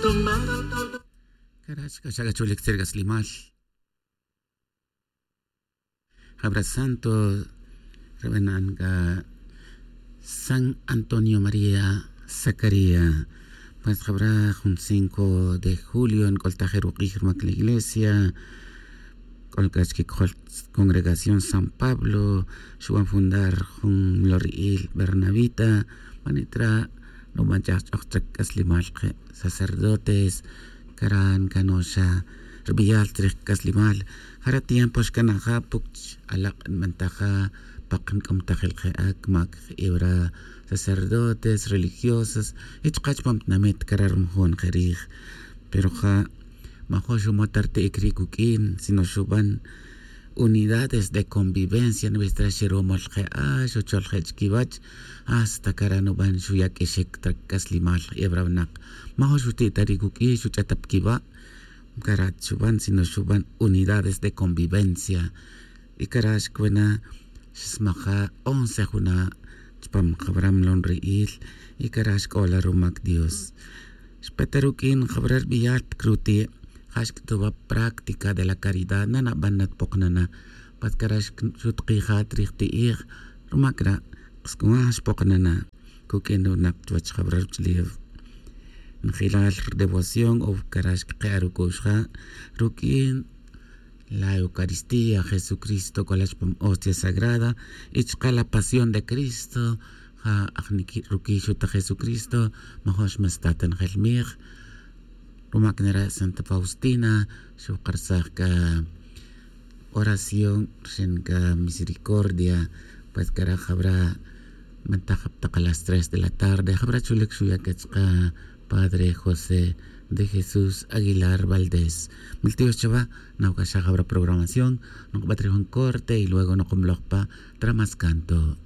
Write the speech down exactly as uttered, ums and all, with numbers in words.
Cara' xc'axac acholic tzerc'aslimal. Jabra santo, re b'anan c'a san antonio maría zacaría. Pues jabra jun cinco de julio nc'oltaj ruk'ij rumac la iglesia. C'ol c'a chiquicojol congregación san pablo, xuban fundar jun mlori'il bernabita. Manit ra' nuban ch'ajch'oj chrac c'aslimal ke sacerdotes. Caran canoxa rbiyal chrij c'aslimal. Jara' tiempo xcanaja puc alak' nbantaja. Pak nc'umtajil ke ac mac jibra sacerdotes religiosas y chka chupam tinamit cara' rumujun ke rij. Pero ja' majo' xumot ta rti'ic ri' cuq'uin sino xuban unidades de convivencia nbij ta ra xeromol je' a xuchol je' chiquiwach. Hasta cara' nuban xuya' q'uixic ta c'aslimal jebra winak. Majo' xuti' ta ri' cuq'ui xuch'at ta piquiwa'. Cara' xuban sino xuban unidades de convivencia. Y cara' xcuena xsmaja once juna' chupam jabra mlonri'il. Y cara' xc'ola rumac dios. Xpeta ruq'uin jabra rbiyal pic ruti' ja xc'utuba práctica de la caridad nanaban natpoknana. Pat cara' xutkijat rij ti'ij rumac ra' xc'utuba ja xpoknana. Cuq'uin runak chuwach jabra ruch'ulew njilal rdevoción o cara' xcake'a ruc'u'x ja ruq'uin la eucaristía jesucristo c'ola chupam hostia sagrada. Y chka la pasión de cristo ja ajniqui' ruq'ui xuta jesucristo. Majo' xmestat ta njelmij rumac nera' santa faustina xukarsaj c'a oración rxin c'a misericordia. Pues cara' jabra' mantaj jab tak a las tres de la tarde jabra' chulic xuya' c'a chka padre josé de jesús aguilar valdés. Miltiox chawa nawac'axaj jabra' programación. Nokbat ri jun corte y luego nokomloj pa tra mas canto.